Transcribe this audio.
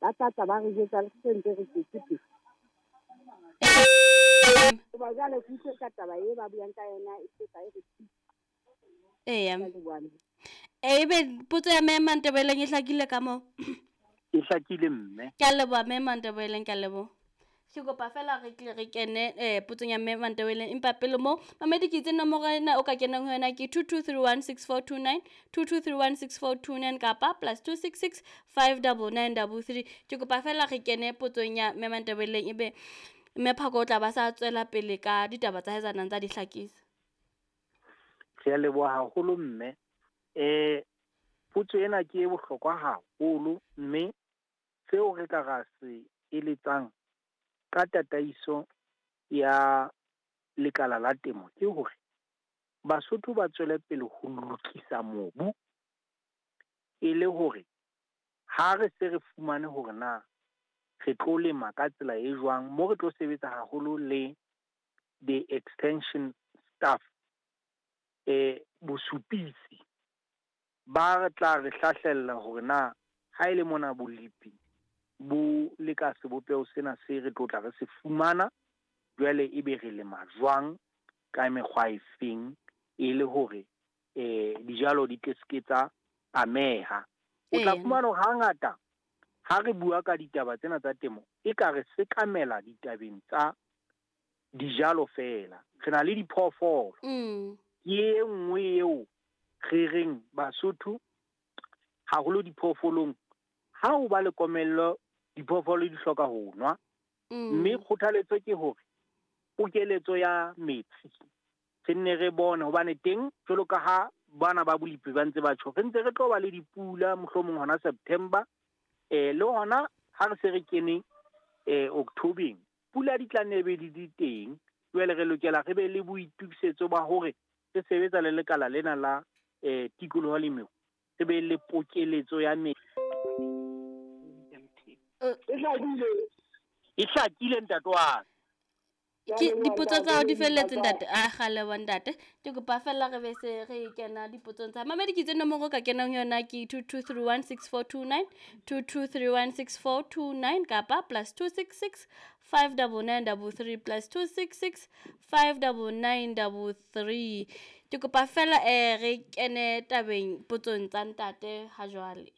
Ba tla tla ba re jwetsa le se ntse re tswetse pele. Hoba jwale ke utlwe ka taba e ba buang ka yona e tla e re Eya. thusa leboha. Ebe potso ya Mme Mantebeleng e hlakile ka moo? E hlakile mme. Ke a leboha Mme Mantebeleng, ke a leboha. Ke kopa fela re tle re kene potsong ya Mme Mantebeleng, empa pele moo mamedi ke itse nomoro ena o ka kenang ho yona ke 22316429, 22316429 kapa +266 59933. Ke kopa fela re kene potsong ya Mme Mantebeleng, ebe Mme Phako o tla ba sa tswela pele ka ditaba tsa hae tsa nang tsa di hlakisa. Re a leboha haholo mme. Potso ena ke e bohlokwa haholo mme seo re ka ra se eletsang ka tataiso ya lekala la temo ke hore Basotho ba tswele pele ho lokisa mobu, e le hore ha re se re fumane hore na re tlo lema ka tsela e jwang, mo re tlo sebetsa haholo le the extension staff, bosupisi ba re tla re hlahlella hore na ha ele mona bolepi bo le ka sebopeho sena se re tlo tla re se fumana, jwale ebe re lema jwang ka mekgwa e feng, e le hore dijalo di tle ske tsa ameha. O tla fumana hore hangata ha re bua ka ditaba tsena tsa temo, e ka re sekamela ditabeng tsa dijalo fela. Re na le diphoofolo. Ke e nngwe eo re reng Basotho haholo diphoofolong, ha o ba le komello diphoofolo di hloka ho nwa. Mme kgothaletso ke hore pokeletso ya metsi re nne re bone hobane teng jwalo ka ha bana ba bolepi ba ntse ba tjho, re ntse re tlo ba le dipula mohlomong hona September, le hona ha re se re kene October-eng, pula di tla nne be di di teng. Jwale re lokela re be le boitukisetso ba hore re sebetsa le lekala lena la tikoloho le meru, re be le pokeletso ya metsi. E hlakile ntate wa ka. Ke dipotso tsa hao di felletse ntate. A kgale wa ntate. Ke kopa fela re be se re kena dipotsong tsa mamedi. Ke itse nomoro ka kenang ho yona ke 22316429, 22316429 kapa +266 59933, +266 59933. Ke kopa fela re kene tabeng potsong tsa ntate ha jwale.